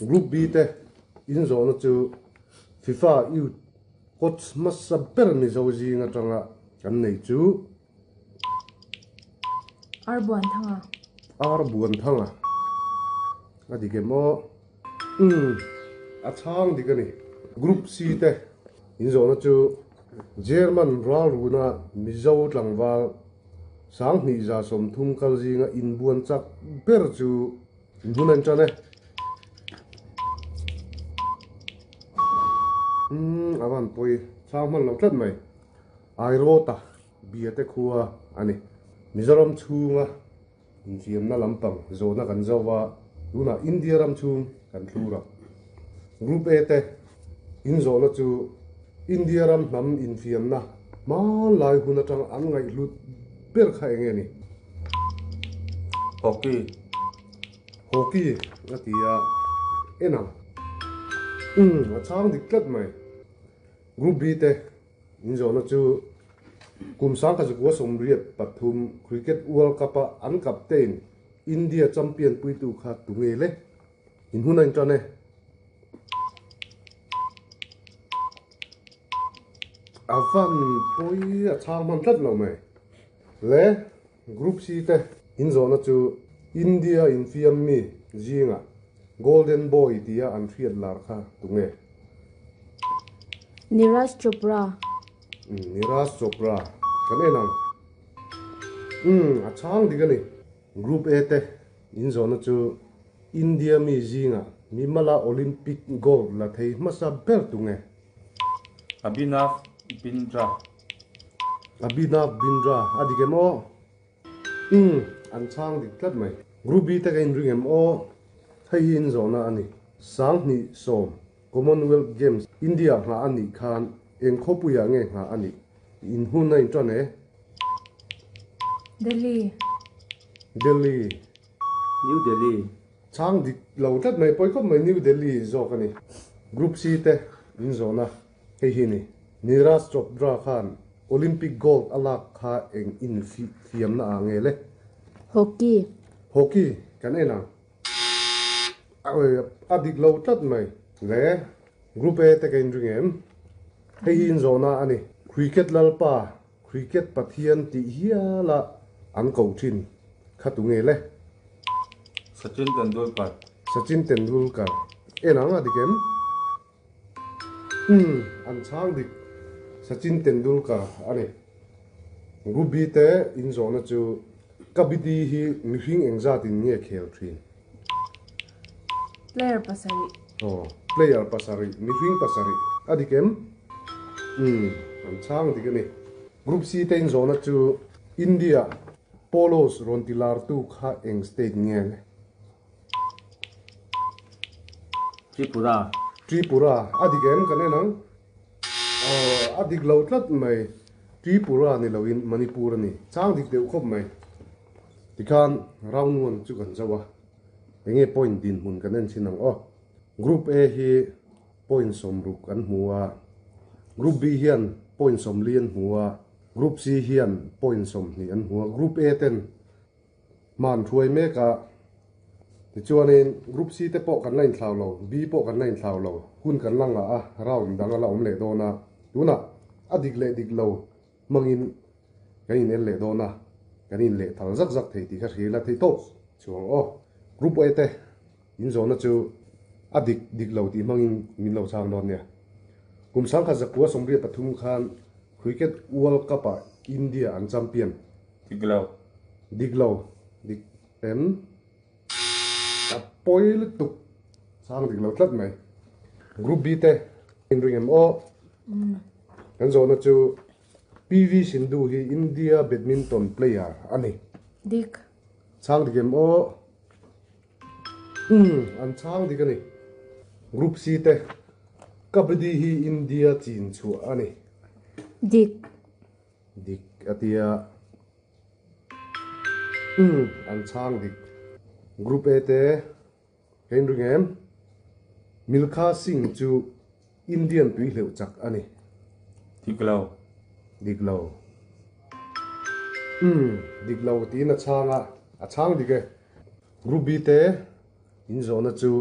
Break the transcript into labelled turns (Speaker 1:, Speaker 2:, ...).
Speaker 1: Group B te inzawhna chu FIFA Youth Coach hmasa ber Mizo zing atanga kan nei chu.
Speaker 2: Ar Buanthanga.
Speaker 1: Ar Buanthanga. A dik em aw? Umm, a chhang dik a ni. Group C te inzawhna chu German ralruna Mizo tlangval 2030 kal zinga inbuan chak ber chu inhun a intan e. Umm, a van pawi chhang hman lo tlat mai. Airawta Biate khua a ni. Mizoram chhunga infiamna lampang zawhna kan zo va, tunah India ram chhung kan thlur a. Group A te inzawhna chu India ram hnam infiamna hmanlai hun atang an ngaihhlut ber kha eng nge ni?
Speaker 3: Hockey.
Speaker 1: Hockey a ti a, en ang. Umm, a chhang dik tlat mai. Group B te Inzawhna chu kum 1983 Cricket World Cup-a an captain India champion puitu kha tu nge le? In hun a intan e. A van pawi a chhang hman tlat lo mai. Le Group C te inzawhna chu India infiam mi zingah Golden Boy tia an hriat lar kha tu nge?
Speaker 2: Neeraj Chopra.
Speaker 1: Umm Neeraj Chopra kan en ang. Umm a chhang dik a ni. Group A te inzawhna chu India mi zingah Mimala Olympic gold la thei hmasa ber tu nge?
Speaker 3: Abhinav Bindra.
Speaker 1: Abhinav Bindra a dik em aw? Umm, an chhang dik tlat mai. Group B te ka inring em aw? Hei hi inzawhna a ni. 2010 Commonwealth Games India nghah a nih khan eng khawpuiah nge nghah a nih? In hun a intan e.
Speaker 2: Delhi.
Speaker 1: Delhi.
Speaker 3: New Delhi.
Speaker 1: Chhang dik lo tlat mai, pawi khawp mai New Delhi zawk a ni. Group C te in zawhna hei hi ni. Neeraj Chopra khan Olympic gold a lak kha eng infiamna ah nge le?
Speaker 2: Hockey.
Speaker 1: Hockey kan en ang. A dik lo tlat mai. Le Group A te ka inring em? Hei hi in zawhna a ni. Cricket lalpa Cricket Pathian tih hiala an ko thin kha tu nge le?
Speaker 3: Sachin Tendulkar.
Speaker 1: Sachin Tendulkar. En ang a dik em? Umm, an chhang dik. Sachin Tendulkar a ni. Group B te inzawhna chu Kabaddi hi mihring engzatin nge khel thin?
Speaker 2: Player pasarih.
Speaker 1: Aw, player pasarih, mihring pasarih a dik em? Umm, an chhang dik a ni. Group C te inzawhna chu India Polos rawn ti lartu kha eng state nge le?
Speaker 3: Tripura.
Speaker 1: Tripura a dik em kan en ang? Aw, a dik lo tlat mai. Tripura ni loin Manipur a ni. Chhang dik deuh khawp mai. Tikhan round one chu kan zo a. Enge point dinhmun kan en chhin ang aw. Group A hi point 60 an hmu a, Group B hian point 40 an hmu a, Group C hian point 20 an hmu a. Group A ten hma an hruai mek a, tichuanin Group C te pawh kan la inthlau lo, B pawh kan la inthlau lo, hun kan la ngah a, round dang a la awm leh dawn a. Tunah a dik leh dik lo hmangin kan in en leh dawn a, kan in leh thal zak zak thei tih kha hria ila thei tawp chuang aw. Group A te in zawhna chu a dik dik lo tih hmangin min lo chhang dawn nia. Kum 1983 khan Cricket World Cup ah India an champion.
Speaker 3: Dik lo.
Speaker 1: Dik lo. Dik em? A pawi lutuk. Chhang dik lo tlat mai. Group B te in ring em aw? Kan zawhna chu PV Sindhu hi India badminton player a ni.
Speaker 2: Dik.
Speaker 1: Chhang dik em aw? Umm, an chhang dik a ni. Group C te Kabaddi hi India chin chhuah a ni.
Speaker 2: Dik.
Speaker 1: Dik a tia. Umm, an chhang dik. Group A te ka inring em? Milkha Singh chu Indian tui hleuh chak a ni.
Speaker 3: Dik lo.
Speaker 1: Dik lo. Umm, dik lo tiin a chhang a, a chhang dik e. Group B te inzawhna chu.